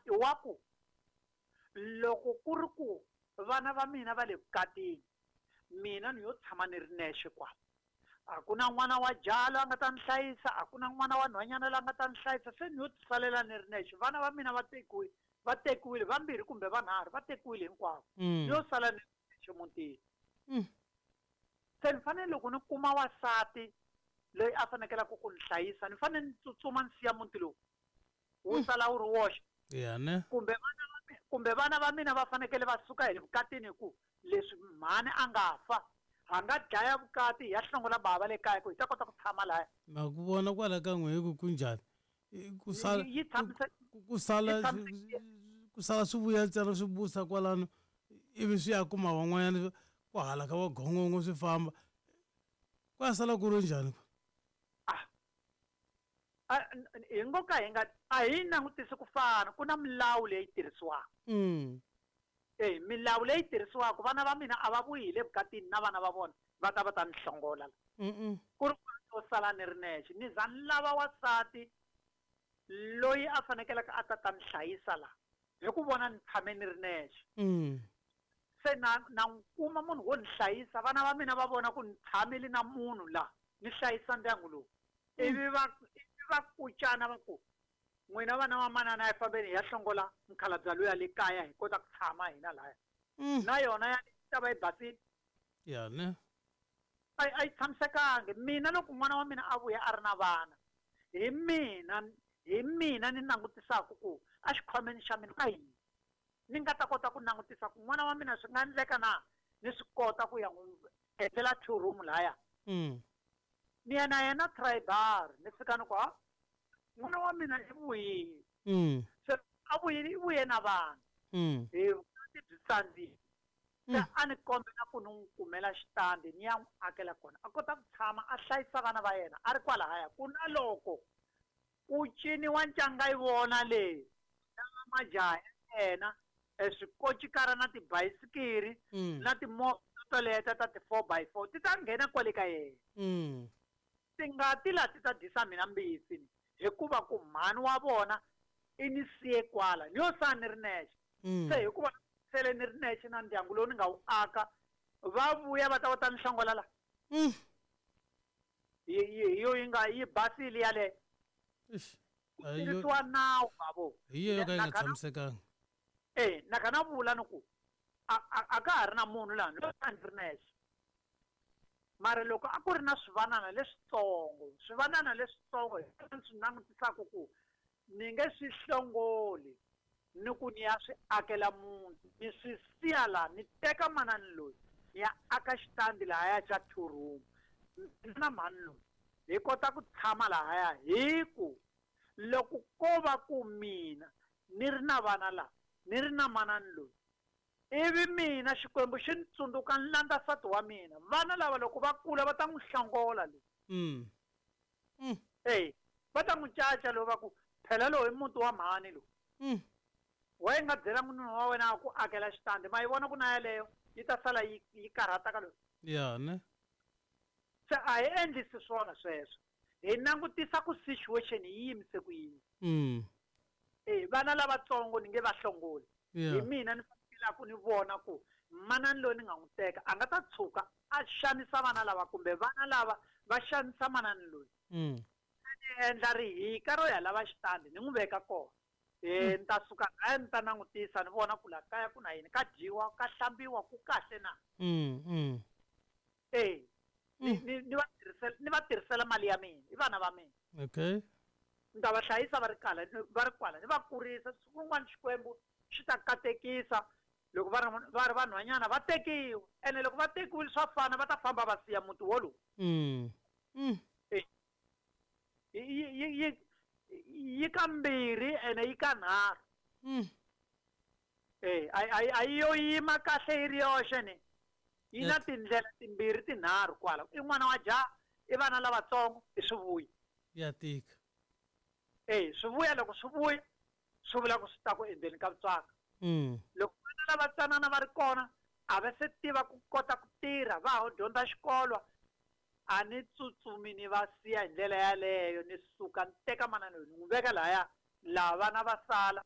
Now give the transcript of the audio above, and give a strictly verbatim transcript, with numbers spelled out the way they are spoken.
i wa ku loko ku ri ku vana va mina va le vukatini mina ni yo tshama ni ri nexe kwala a ku na n'wana wa jaha loyi a nga ta ni hlayisa a ku na n'wana wa nhwanyana loyi a nga ta ni hlayisa se ni yo tisalela ni ri nexe vana va mina va tekiwile va tekiwile vambirhi kumbe vanharhu va tekiwile hinkwavo Mm. ni yo sala ni ri nexe mutini Mm. se ni fanele loko ni kuma wasati loyi a fanekelaka ku ni hlayisa ni fanele ni tsutsuma ni siya muti lowu wu sala wu ri woxe ya ne kumbe vana va mi- kumbe vana va mina va fanekele va suka hi le vukatini hi ku leswi mhani a nga fa ha nga dlaya vukati hi ya hlongola bava le kaya ku hi ta kota ku tshama laya ma ku vona kwala ka n'we hi ku kunjhani I- ku sala Yi- yi tshamisa- ku- ku sala yi tshamisekile. ku sala swi vuya ntsena swi busa kwalano ivi swi ya kuma van'wanyana ku hala ka vagongongo swi famba ku ya sala ku ri njhani ah A- n- n- hi ngo ka hi nga a hi langutisi ku fana ku na milawu leyi tirhisiwaka mm. e milawu leyi tirhisiwaka vana va mina a va vuyi hi le vukatini na vana va vona va ta va ta ni hlongola la Mm-mm. ku ri ku sala ni ri nexe ni za ni lava wasati loyi a fanekeleke a ta ta ni hlayisa la hi ku vona ni tshame ni ri nexe Mm. se na na n'wi kuma munhu wo ni hlayisa vana va mina va vona ku ni tshamile na munhu la ni hlayisa ndyangu lowu ivi va ivi va kucana va ku n'wina vana va manana a hi fambeni hi ya hlongola mukhalabye luya le kaya hi kota ku tshama hina laya Mm. na yona ya ta va yi basile ya ne a a yi tshamisekangi mina loko n'wana wa mina a vuya a ri na vana hi mina hi mina ni langutisaka ku a xikhwameni xa mina ka yini ni nga ta kota ku langutisa ku n'wana wa mina swi nga endleka na ni swi kota ku ya n'wi endlela two room laya Mm. ni ya na yena tribal ni fika ni ku ha n'wana wa mina i vuyile Mm. se a vuyile i vuye na vana Mm. hi vukati byi tsandzile se Mm. a ni kombela ku ni n'wi kumela xitandi ni ya n'wi akela kona a kota ku tshama a hlayisa vana va yena a ri kwalahaya ku na loko ku ciniwa ncanga yi vona leyi na majaha ya yena e swikocikara na tibayisikiri Mm. na timovha toleto ta ti-four by four ti ta nghena kwale ka yena Mm. tingati la ti ta dyisa mina mbitsi ni hikuva ku mhani wa vona i ni siye kwala ni yo sala ni ri nexe Mm. se hikuva sele ni ri nexe na ndyangu lowu ni nga wu aka va vuya va ta va ta ni hlongola la Mm. hi hi hi yo yi nga yi basile yaleyo Eish. ku A hi yo- tirhisiwa nawu bavo hi yo yo ka yi nga Na khana- tshamisekanga e na kha na vula ni ku a a- a ka ha ri na munhu laha ni lo ni ri nexe mara loko a ku ri na swivanana leswitsongo swivanana leswitsongo hi swona ni swi langutisaka ku ni nge swi hlongoli ni ku ni ya swi akela muti ni swi siya laha ni teka manani loyi ni ya aka xitandi lahaya xa two room mina na mhani loyi hi kota ku tshama lahaya hi ku loko ko va ku mina ni ri na vana laha ni ri na manani loyi ivi mina xikwembu xi ni tsundzuka ni landza nsati wa mina vana lava loko va kula va ta n'wi hlongola loyi Mm. Mm. eyi va ta n'wi caca lowu va ku phela lowu i muti wa mhani lowu Mm. wa yi nga byela munhu wa wena a ku akela xitandi ma yi vona ku na yaleyo yi ta sala yi yi karhata ka loyi ya ne se a hi endlisi swona sweswo hi langutisa ku situation yi yimise ku yini Mm. e vana lavatsongo ni nge va hlongoli Yeah. hi mina ni fanekelaku ni vona ku manani loyi ni nga n'wi teka a nga ta tshuka a xanisa vana lava kumbe vana lava va xanisa manani loyi Mm. ni endla rihika ro ya lava xitandi ni n'wi veka kona e ni ta suka kaya ni ta langutisa ni vona ku laha kaya ku na yini ka dyiwa ka hlambiwa ku kahle na Mm. Mm. e ni ni ni va tirhisela ni va tirhisela mali ya mina i vana va mina Okay. ni ta va hlayisa va ri kala ni- va ri kwala ni va kurisa siku rin'wana xikwembu xi ta katekisa loko va ri va ri vanhwanyana va tekiwa ene loko va tekiwile swa fana va ta famba va siya muti wolowo Mm. Mm. yi yi yi yi ka mbirhi ene yi ka nharhu Mm. e a a a yi yo yima kahle yi ri yoxe ni yi na Yes. tindlela timbirhi tinharhu kwala i n'wana wa jaha i vana lavatsongo i swivuya Ya tika. e swivuya loko swi vuya swi vula ku swi ta ku endzeni ka vutswaka Mm. loko vana lava tsanana va ri kona a va se tiva ku kota ku tirha va ha dyondza xikolo a ni tsutsumi ni va siya hi ndlela yaleyo ni suka ni teka manana loyi ni n'wi veka lahaya laha vana va sala